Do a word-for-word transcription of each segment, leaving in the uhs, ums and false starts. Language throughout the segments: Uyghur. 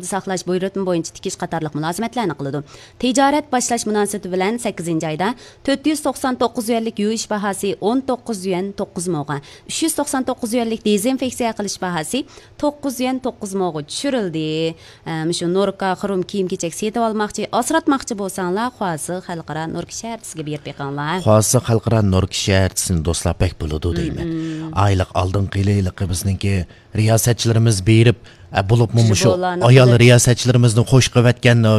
ساقلاش بۇيرۇتما بويىچە تىكىش قاتارلىق مۇلازىمەتلەرنى قىلىدۇ. تىجارەت باشلاش مۇناسىۋىتى بىلەن سەككىزىنچى ئايدا تۆت يۈز توقسان توققۇز يۈەنلىك يۇيۇش باھاسى ئون توققۇز يۈەن توققۇز موغا، ئۈچ يۈز توقسان توققۇز يۈەنلىك دېزىنفېكسىيە قىلىش باھاسى توققۇز يۈەن توققۇز موغا چۈشۈرۈلدى. ئە، مۇشۇ نوركا خۇرۇم كىيىم-كېچەك سېتىۋالماقچى، ئاسراتماقچى بولساڭلار، خۇاسى خەلقئارا نوركا شەھەرچىسىگە بېرىپ بېقىڭلار. خۇاسى خەلقئارا نوركا شەھەرچىسىنى دوستلار بەك بولىدۇ دەيمەن. مم. ئايلىق ئالدىنقى يىلى ھېلىقى بىزنىڭكى رىياسەتچىلىرىمىز بېرىپ، ئە، بولۇپمۇ مۇشۇ جۇبولارنى ئايال قىلدى. رىياسەتچىلىرىمىزنى خوش قىلىۋەتكەن، ئە،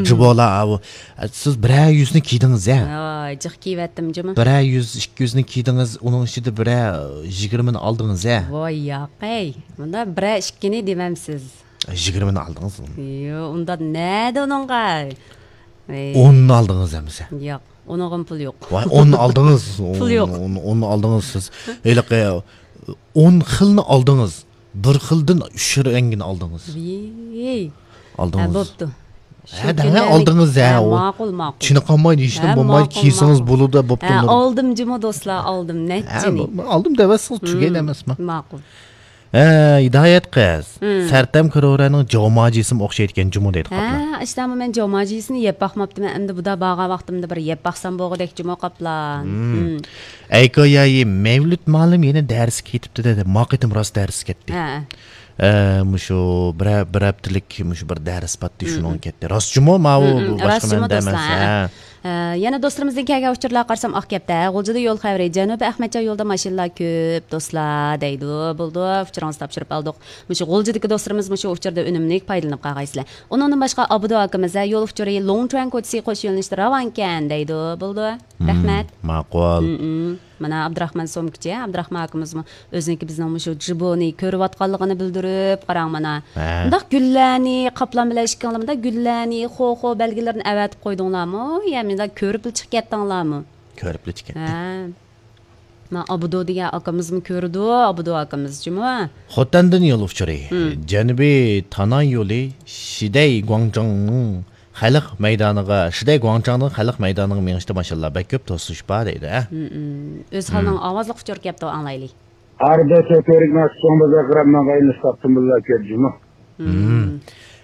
جۇبولار، ئە، ئە، سىز بىرەر يۈزنى كىيدىڭىز، ھە؟ ۋاي، جىق كىيىۋەتتىم جۇمۇ. بىرەر يۈز، ئىككى يۈزنى كىيدىڭىز، ئۇنىڭ ئىچىدە بىرەر يىگىرمىنى ئالدىڭىز، ھە؟ ۋاي ياقەي، مۇندا بىرەر ئىككىنى دېمەمسىز. يىگىرمىنى ئالدىڭىز. يو، ئۇندا نەدە ئۇنىڭغا؟ ئەي. ئوننى ئالدىڭىز ئەمىسە؟ ياق، ئۇنىڭغىمۇ پۇل يوق. ۋاي، ئوننى ئالدىڭىز. پۇل يوق. ئون، ئون، ئوننى ئالدىڭىز سىز. ھېلىقى ئون خىلنى ئالدىڭىز. بىر خىلدىن ئۈچ رەڭگىنى ئالدىڭىز. ۋىي. ئالدىڭىز. ھە، بوپتۇ. شۇ ھە، دەڭە كۈنلەرنى ئالدىڭىز، ھە، ھە، ئۇ ماقۇل، ماقۇل. چېنىقالماي دېيىشنىڭ ھە، بولمايدۇ، ماقۇل، كىيسىڭىز ماقۇل. بولىدۇ، بوپتۇ، ھە، نۇر. ئالدىم جۇمۇ دوستلار، ئالدىم، ھە، نەچچىنى. بو-، ئالدىم دەۋەتسىڭىز، تۈگەيدۇ ئەمەسمۇ؟ ماقۇل. ھە، ھىدايەت قىز. ھىم. سەرتەم كرورەنىڭ جاۋماجىسىمۇ ئوخشايدىكەن جۇمۇ دەيدۇ قاپلا. ھە، ئىشتامۇ مەن جاۋماجىسىنى يەپ باقماپتىمەن، ئەمدى بۇدا بارغان ۋاقتىمدا بىر يەپ باقسام بولغۇدەك جۇمۇ قاپلا. ھىم. ھىم. ئەيكويايى مەۋلۇت مالىم يەنە دەرسكە كېتىپتۇ دەيدۇ. ما قېتىم راست دەرسكە كەتتى. ھە. ئە، مۇشۇ بىرەر، بىر ھەپتىلىك مۇشۇ بىر دەرس باتتى، ھىم، شۇنىڭغا ھىم. كەتتى. راست جۇمۇ ماۋۇ ھىم، ھىم، باشقا راست جۇمۇ مەندە ئەمەس. دوستلار، ھە. ھە. ئە، يەنە دوستلىرىمىزدىن كەلگەن ئۇچۇرلارغا قارىسام، ئاق گەپتە، غۇلجىدا يول خەۋىرى، جەنۇبىي ئەخمەتجان يولىدا ماشىنىلار كۆپ، دوستلار، دەيدۇ. بولدى، ئۇچۇرىڭىزنى تاپشۇرۇپ ئالدۇق. مۇشۇ غۇلجىدىكى دوستلىرىمىز مۇشۇ ئۇچۇردا ئۈنۈملۈك پايدىلىنىپ قالغايسىلەر. ئۇنىڭدىن باشقا ئابدۇ ئاكىمىز، ھە، يول ئۇچۇرى لوڭچۈەن كوچىسى قوش يۆنىلىشتە راۋانكەن، دەيدۇ. بولدى. مم، رەھمەت. ماقۇل. مم، مم. مانا ئابدۇراخمان سومكىچى، ئابدۇراخمان ئاكىمىزمۇ ئۆزىنىڭكى بىزنىڭ مۇشۇ جىبونى كۆرۈۋاتقانلىقىنى بىلدۈرۈپ، قاراڭ مانا. ھە. مۇنداق گۈللەرنى، قاپلان بىلەن ئىككىڭلار مۇنداق گۈللەرنى، خو، خو بەلگىلىرىنى ئەۋەتىپ قويدۇڭلارمۇ؟ يا مۇنداق كۆرۈپلا چىقىپ كەتتىڭلارمۇ؟ كۆرۈپلا چىقىپ كەتتىم. ھە. مانا ئابدۇ دېگەن ئاكىمىزمۇ كۆرىدۇ، ئابدۇ ئاكىمىز جۇمۇ. خوتەندىن يول ئۇچۇرى. مم. جەنۇبىي تانان يولى شىدەي گۇاڭجاڭنىڭ خەلق مەيدانىغا، شىدەي گۇاڭجاڭدىن خەلق مەيدانىغا مېڭىشتا ماشىنىلار بەك كۆپ، توسۇلۇش بار دەيدۇ، ھە؟ مم، مم. ئۆزھالنىڭ ئاۋازلىق ئۇچۇرى كەپتۇ، ئاڭلايلى. ئارىدا چۆپۈرۈك مەخسۇسۇڭ بازار قىرامنىڭ غەينىسى تاپتىم بىللا كۆردۈمۇ. مم.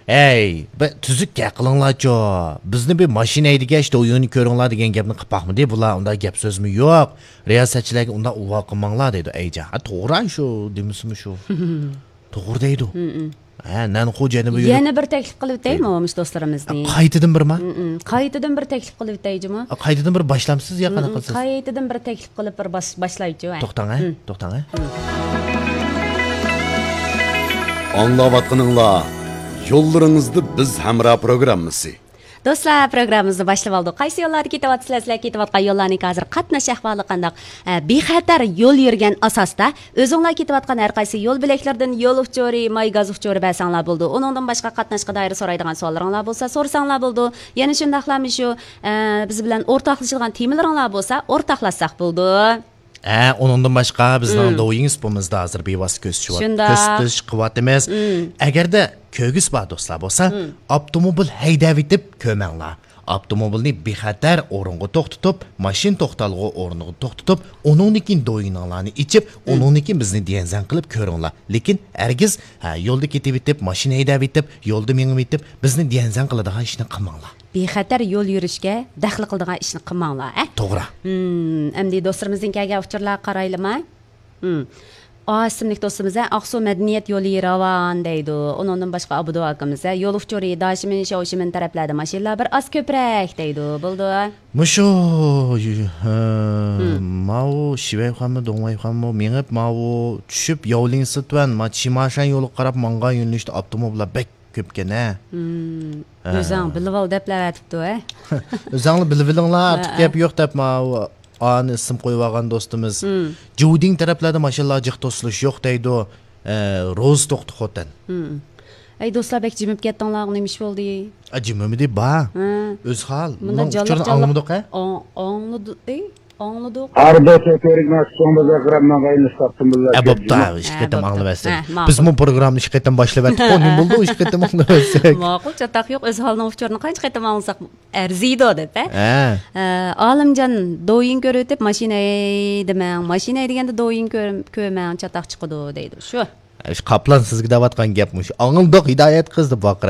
ھەي، بىر تۈزۈك گەپ قىلىڭلارچۇ. بىزنى بىر ماشىنا ھەيدىگەچ، دويۇنى كۆرۈڭلار دېگەن گەپنى قىلىپ باقمىدى. بۇلار ئۇنداق گەپ سۆزمۇ يوق. رىياسەتچىلەرگە ئۇنداق ئۇۋا قىلماڭلار دەيدۇ، ئەيجان. ھە، توغرا شۇ، دېمىسىمۇ شۇ. توغرا دەيدۇ. مم، مم. ھە، نەنخۇ جەنۇبى يۈرۈپ يەنە بىر تەكلىپ قىلىۋېتەيمۇ دەيدۇ. مۇشۇ دوستلىرىمىزنى؟ قايتىدىن بىرما؟ مم، مم. قايتىدىن بىر تەكلىپ قىلىۋېتەي جۇمۇ. قايتىدىن بىر باشلامسىز يا مم، قانداق مم. قىلىسىز؟ قايتىدىن بىر تەكلىپ قىلىپ بىر باش-، باشلايچۇ، ھە. توختاڭ، ھە؟ مم. توختاڭ، ھە؟ مم. ئاڭلاۋاتقىنىڭلار يوللىرىڭىزدا بىز ھەمراھ پروگراممىسى. دوستلار، پروگراممىمىزنى باشلىۋالدۇق. قايسى يوللاردا كېتىۋاتىسىلەر؟ سىلەر كېتىۋاتقان يوللارنىڭ ھازىر قاتناش ئەھۋالى قانداق؟ ئە، بىخەتەر يول يۈرگەن ئاساستا ئۆزۈڭلار كېتىۋاتقان ھەر قايسى يول بۆلەكلىرىدىن يول ئۇچۇرى، ماي گاز ئۇچۇرى بەرسەڭلار بولىدۇ. ئۇنىڭدىن باشقا قاتناشقا دائىر سورايدىغان سوئاللىرىڭلار بولسا سورىساڭلار بولىدۇ. يەنە شۇنداقلا مۇشۇ، ئە، بىز بىلەن ئورتاقلىشىدىغان تېمىلىرىڭلار بولسا ئورتاقلاشساق بولىدۇ. ھە، ئۇنىڭدىن باشقا بىزنىڭ مم. دويىڭ سىپىمىزدا ھازىر بىۋاسىتە كۆرسىتىۋات-، شۇنداق. كۆرسىتىش قىلىۋاتىمىز. مم. ئەگەردە كۆرگۈسى بار دوستلار بولسا، مم. ئاپتوموبىل ھەيدەۋېتىپ كۆرمەڭلار. ئاپتوموبىلنى بىخەتەر ئورۇنغا توختىتىپ، ماشىنا توختالغۇ ئورنىغا توختىتىپ، ئۇنىڭدىن كېيىن دويىنىڭلارنى ئېچىپ، مم. ئۇنىڭدىن كېيىن بىزنى دىيەنزەن قىلىپ كۆرۈڭلار. لېكىن ھەرگىز، ھە، يولدا كېتىۋېتىپ، ماشىنا ھەيدەۋېتىپ، يولدا مېڭىۋېتىپ، بىزنى دىيەنزەن قىلىدىغان ئىشنى قىلماڭلار. بىخەتەر يول يۈرۈشكە دەخلى قىلىدىغان ئىشنى قىلماڭلار، ئە؟ توغرا. ھىم، ئەمدى دوستلىرىمىزدىن كەلگەن ئۇچۇرلارغا قارايلىما؟ ھىم. ئا ئىسىملىك دوستىمىز، ئە، ئاقسۇ مەدەنىيەت يولى راۋان دەيدۇ. ئۇنىڭدىن باشقا ئابدۇ ئاكىمىز، ئە، يول ئۇچۇرى داشىمىن، شياۋشىمىن تەرەپلەردە ماشىنىلار بىر ئاز كۆپرەك دەيدۇ. بولدى. مۇشۇ، ھە، ھىم. ماۋۇ شىۋەيخانمۇ، دوڭۋەيخانمۇ مېڭىپ، ماۋۇ چۈشۈپ ياۋلىڭسىتۈەن، ما چىماشان يولىغا قاراپ ماڭغان يۆنىلىشتە ئاپتوموبىللار بەك كۆپكەن، ھە؟ ھىم، ھە. ئۆزۈڭ بىلىۋال دەپلا ئەۋەتىپتۇ، ھە؟ ئۆزۈڭلار بىلىۋېلىڭلار، ھە، ئارتۇق ھە. گەپ يوق دەپ، ماۋۇ ئانى ئىسىم قويۇۋالغان دوستىمىز. ھىم. جۇدىڭ تەرەپلەردە ماشىنىلار جىق توسۇلۇش يوق دەيدۇ. ئە، روزا توختى خوتەن. ھىم. ئەي دوستلار، بەك جىمىپ كەتتىڭلار، نېمە ئىش بولدى؟ ئە، جىمىمىدى با. ھە. ئۆزھال. مۇنداق مۇنىڭ جانلىق ئۇچۇرىنى جانلىق ئاڭلىمىدۇق، ھە؟ ئاڭ-، ئاڭلىدى-، ئەي، ئاڭلىدۇق. ئارىدا چۆپۈرۈك مەخسۇسۇڭ بازار قىرامنىڭ غەينىسى تاپتىم بىللا ئە، بوپتۇ، كۆردۈم. ھە، ئىككى ھە، قېتىم بوپتۇ. ئاڭلىۋەتسەك. ھە، ماقۇل. بىزمۇ پروگراممىنى ئىككى قېتىم باشلىۋەتتۇق، نېمە بولدى، ئىككى قېتىم ئاڭلىۋەتسەك؟ ماقۇل، چاتاق يوق، ئۆزھالنىڭ ئۇچۇرىنى قانچە قېتىم ئاڭلىساق ئەرزىيدۇ دەپ، ھە؟ ھە. ئە، ئالىمجان، دويىن كۆرۈۋېتىپ، ماشىنا ھەيدىمەڭ، ماشىنا ھەيدىگەندە دويىن كۆر-، كۆرمەڭ، چاتاق چىقىدۇ دەيدۇ. شۇ. ئىش قاپلان سىزگە دەۋاتقان گەپ مۇشۇ. ئاڭلىدۇق ھىدايەت قىز دەپ ۋارقىراپ